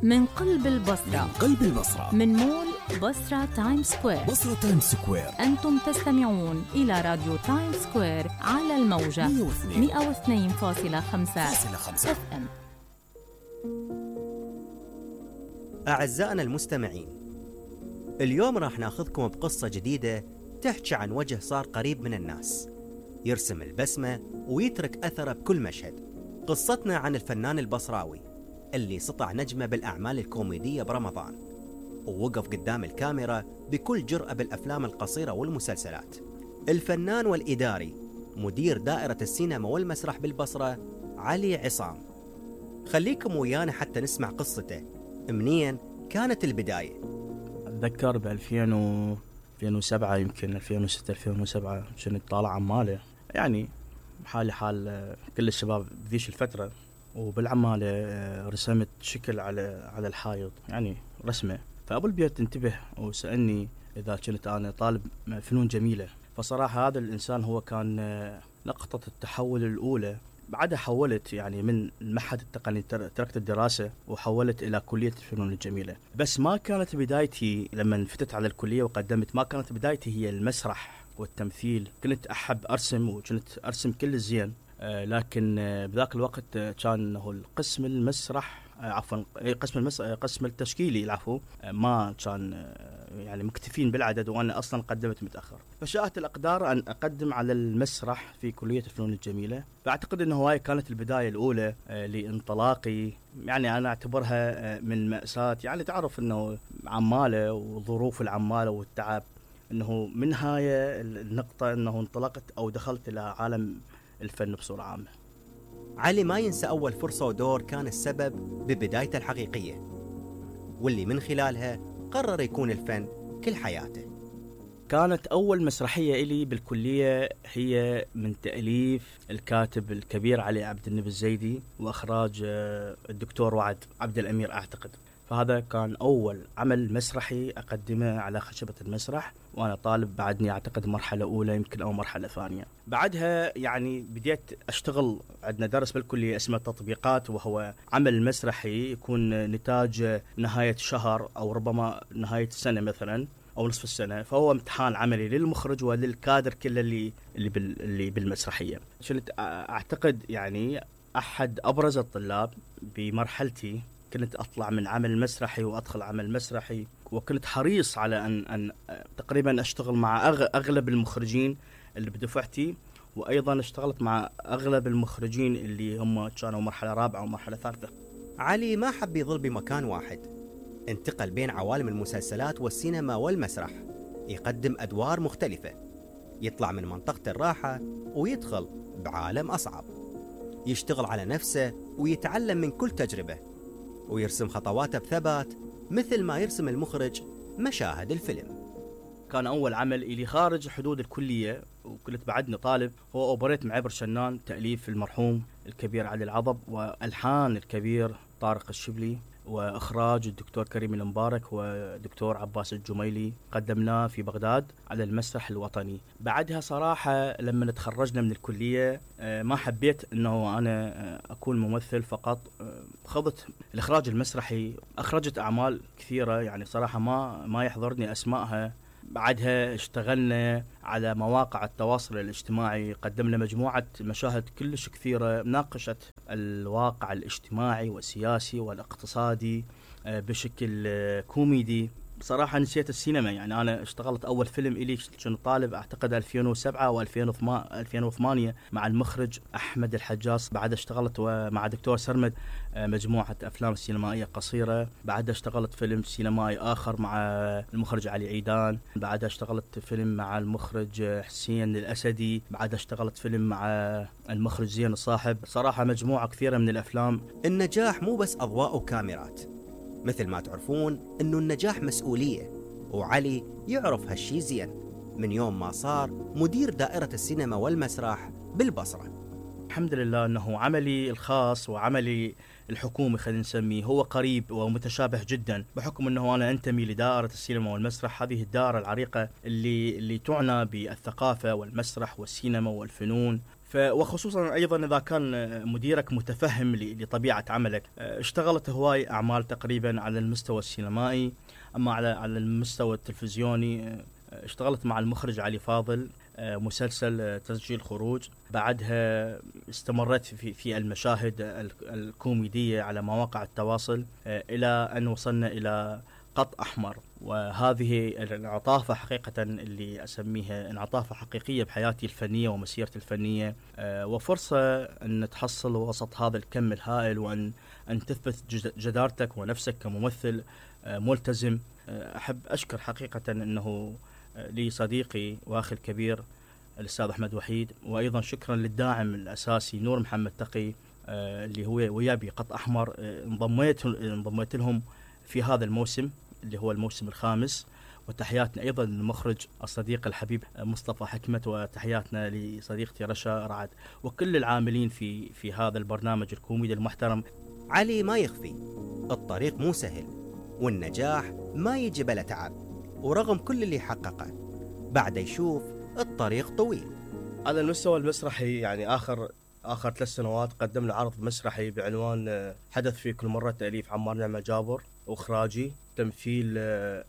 من قلب البصرة، من قلب البصرة، من مول بصرة تايم سكوير. بصرة تايم سكوير. أنتم تستمعون إلى راديو تايم سكوير على الموجة 102.5 FM. أعزائنا المستمعين، اليوم راح ناخذكم بقصة جديدة تحكي عن وجه صار قريب من الناس، يرسم البسمة ويترك أثره بكل مشهد. قصتنا عن الفنان البصراوي اللي سطع نجمة بالأعمال الكوميدية برمضان، ووقف قدام الكاميرا بكل جرأة بالأفلام القصيرة والمسلسلات. الفنان والإداري مدير دائرة السينما والمسرح بالبصرة علي عصام. خليكم ويانا حتى نسمع قصته، منين كانت البداية. أتذكر ب 2007 يمكن 2006 2007 كنت طالع عمالة، يعني حالي حال كل الشباب بذيش الفترة، وبالعمالة رسمت شكل على الحائط، يعني رسمة. فأبو البيت انتبه وسألني إذا كنت أنا طالب فنون جميلة. فصراحة هذا الإنسان هو كان نقطة التحول الأولى. بعدها حولت يعني من المعهد التقني، تركت الدراسة وحولت إلى كلية الفنون الجميلة. بس ما كانت بدايتي لما فتت على الكلية وقدمت، ما كانت بدايتي هي المسرح والتمثيل. كنت أحب أرسم وكنت أرسم كل الزين، لكن بذاك الوقت كان القسم المسرح قسم التشكيلي العفو ما كان يعني مكتفين بالعدد، وأنا أصلا قدمت متأخر. فشاءت الأقدار أن أقدم على المسرح في كلية الفنون الجميلة. فأعتقد أنه هاي كانت البداية الأولى لانطلاقي. يعني أنا أعتبرها من مأساة، يعني تعرف أنه عمالة وظروف العمالة والتعب، أنه من هاي النقطة أنه انطلقت أو دخلت إلى عالم الفن بصورة عامة. علي ما ينسى أول فرصة ودور كان السبب ببدايته الحقيقية، واللي من خلالها قرر يكون الفن كل حياته. كانت أول مسرحية إلي بالكلية هي من تأليف الكاتب الكبير علي عبد النبي الزيدي، وإخراج الدكتور وعد عبد الأمير أعتقد. فهذا كان أول عمل مسرحي أقدمه على خشبة المسرح، وأنا طالب بعدني أعتقد مرحلة أولى يمكن أو مرحلة ثانية. بعدها يعني بديت أشتغل، عندنا درس بالكلية اسمه تطبيقات، وهو عمل مسرحي يكون نتاج نهاية شهر أو ربما نهاية السنة مثلا أو نصف السنة. فهو امتحان عملي للمخرج وللكادر كله اللي بالمسرحية. كنت أعتقد يعني أحد أبرز الطلاب بمرحلتي. كنت أطلع من عمل مسرحي وأدخل عمل مسرحي، وكنت حريص على أن تقريبا أشتغل مع أغلب المخرجين اللي بدفعتي، وأيضا اشتغلت مع أغلب المخرجين اللي هم كانوا مرحلة رابعة ومرحلة ثالثة. علي ما حب يظل بمكان واحد، انتقل بين عوالم المسلسلات والسينما والمسرح، يقدم أدوار مختلفة، يطلع من منطقة الراحة ويدخل بعالم أصعب، يشتغل على نفسه ويتعلم من كل تجربة، ويرسم خطواته بثبات مثل ما يرسم المخرج مشاهد الفيلم. كان أول عمل إلي خارج حدود الكلية وكنت بعدني طالب هو أوبريت معبر شنان، تأليف المرحوم الكبير علي العضب، وألحان الكبير طارق الشبلي، وإخراج الدكتور كريم المبارك ودكتور عباس الجميلي. قدمناه في بغداد على المسرح الوطني. بعدها صراحة لما تخرجنا من الكلية ما حبيت أنه أنا أكون ممثل فقط. خضت الإخراج المسرحي، أخرجت أعمال كثيرة يعني صراحة ما يحضرني أسمائها. بعدها اشتغلنا على مواقع التواصل الاجتماعي، قدمنا مجموعة مشاهد كلش كثيرة ناقشت الواقع الاجتماعي والسياسي والاقتصادي بشكل كوميدي. بصراحة نسيت السينما، يعني أنا اشتغلت أول فيلم إلي كنت طالب أعتقد 2007 أو 2008 مع المخرج أحمد الحجاص. بعد اشتغلت مع دكتور سرمد مجموعة أفلام سينمائية قصيرة. بعد اشتغلت فيلم سينمائي آخر مع المخرج علي عيدان. بعد اشتغلت فيلم مع المخرج حسين الأسدي. بعد اشتغلت فيلم مع المخرج زين الصاحب. صراحة مجموعة كثيرة من الأفلام. النجاح مو بس أضواء وكاميرات، مثل ما تعرفون أنه النجاح مسؤولية، وعلي يعرف هالشي زين من يوم ما صار مدير دائرة السينما والمسرح بالبصرة. الحمد لله أنه عملي الخاص وعملي الحكومي خلينا نسميه هو قريب ومتشابه جدا، بحكم أنه أنا أنتمي لدائرة السينما والمسرح، هذه الدائرة العريقة اللي تعنى بالثقافة والمسرح والسينما والفنون. وخصوصا ايضا اذا كان مديرك متفهم لطبيعه عملك. اشتغلت هواي اعمال تقريبا على المستوى السينمائي، اما على المستوى التلفزيوني اشتغلت مع المخرج علي فاضل مسلسل تسجيل خروج. بعدها استمرت في المشاهد الكوميديه على مواقع التواصل الى ان وصلنا الى قط احمر، وهذه الانعطافه حقيقه اللي اسميها انعطافه حقيقيه بحياتي الفنيه ومسيرتي الفنيه، وفرصه ان تحصل وسط هذا الكم الهائل وان تثبت جدارتك ونفسك كممثل ملتزم. احب اشكر حقيقه انه لي صديقي واخي الكبير الاستاذ احمد وحيد، وايضا شكرا للداعم الاساسي نور محمد تقي اللي هو ويا بقط احمر. انضميت لهم في هذا الموسم اللي هو الموسم الخامس. وتحياتنا ايضا للمخرج الصديق الحبيب مصطفى حكمت، وتحياتنا لصديقتي رشا رعد وكل العاملين في هذا البرنامج الكوميدي المحترم. علي ما يخفي الطريق مو سهل، والنجاح ما يجي بلا تعب، ورغم كل اللي حققه بعد يشوف الطريق طويل. على المستوى المسرحي يعني آخر 3 سنوات قدمنا عرض مسرحي بعنوان حدث في كل مرة، تأليف عمار نعمة جابر، وإخراجي تمثيل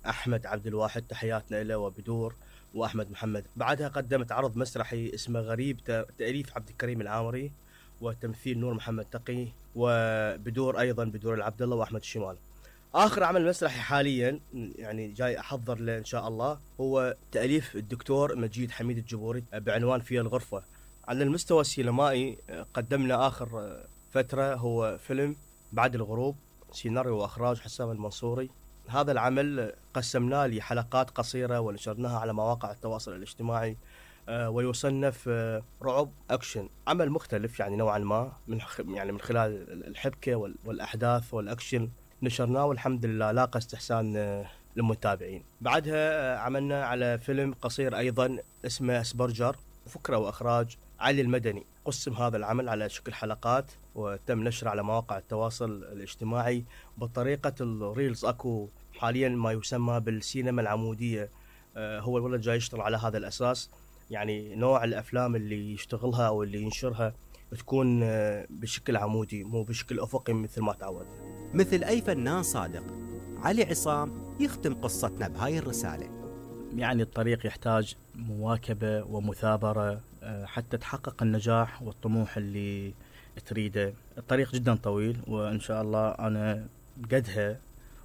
أحمد عبد الواحد، تحياتنا له، وبدور وأحمد محمد. بعدها قدمت عرض مسرحي اسمه غريب، تأليف عبد الكريم العامري وتمثيل نور محمد تقي، وبدور أيضا بدور العبد الله وأحمد الشمال. آخر عمل مسرحي حاليا يعني جاي أحضر له إن شاء الله هو تأليف الدكتور مجيد حميد الجبوري بعنوان في الغرفة. على المستوى السينمائي قدمنا آخر فترة هو فيلم بعد الغروب، سيناريو وإخراج حسام المنصوري. هذا العمل قسمناه لحلقات قصيرة ونشرناها على مواقع التواصل الاجتماعي، ويصنف رعب أكشن، عمل مختلف يعني نوعا ما من خلال الحبكة والأحداث والأكشن نشرناه، والحمد لله لاقى استحسان للمتابعين. بعدها عملنا على فيلم قصير أيضا اسمه سبرجر، فكرة وإخراج علي المدني. قسم هذا العمل على شكل حلقات وتم نشره على مواقع التواصل الاجتماعي بطريقة الريلز. أكو حاليا ما يسمى بالسينما العمودية، هو الولد جاي يشتغل على هذا الأساس، يعني نوع الأفلام اللي يشتغلها أو اللي ينشرها تكون بشكل عمودي مو بشكل أفقي مثل ما تعودنا. مثل أي فنان صادق، علي عصام يختم قصتنا بهاي الرسالة. يعني الطريق يحتاج مواكبة ومثابرة حتى تحقق النجاح والطموح اللي تريده. الطريق جدا طويل، وإن شاء الله أنا قدها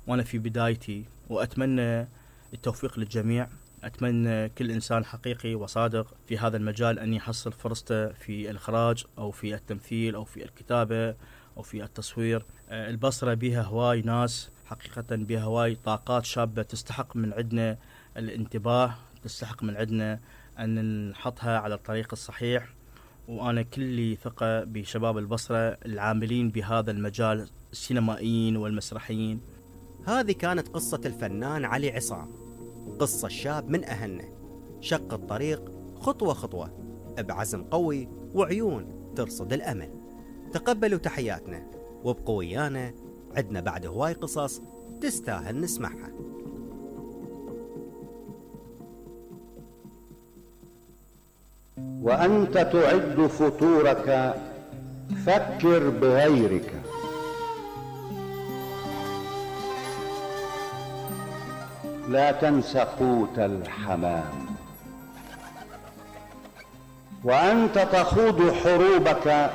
وأنا في بدايتي، وأتمنى التوفيق للجميع. أتمنى كل إنسان حقيقي وصادق في هذا المجال أن يحصل فرصته في الإخراج أو في التمثيل أو في الكتابة أو في التصوير. البصرة بها هواي ناس حقيقة، بها هواي طاقات شابة تستحق من عندنا الانتباه، تستحق من عندنا أن نحطها على الطريق الصحيح. وأنا كلي ثقة بشباب البصرة العاملين بهذا المجال، السينمائيين والمسرحيين. هذه كانت قصة الفنان علي عصام، قصة شاب من أهلنا شق الطريق خطوة خطوة بعزم قوي وعيون ترصد الأمل. تقبلوا تحياتنا وابقوا ويانا، عدنا بعد هواي قصص تستاهل نسمعها. وأنت تعد فطورك فكر بغيرك. لا تنس قوت الحمام. وأنت تخوض حروبك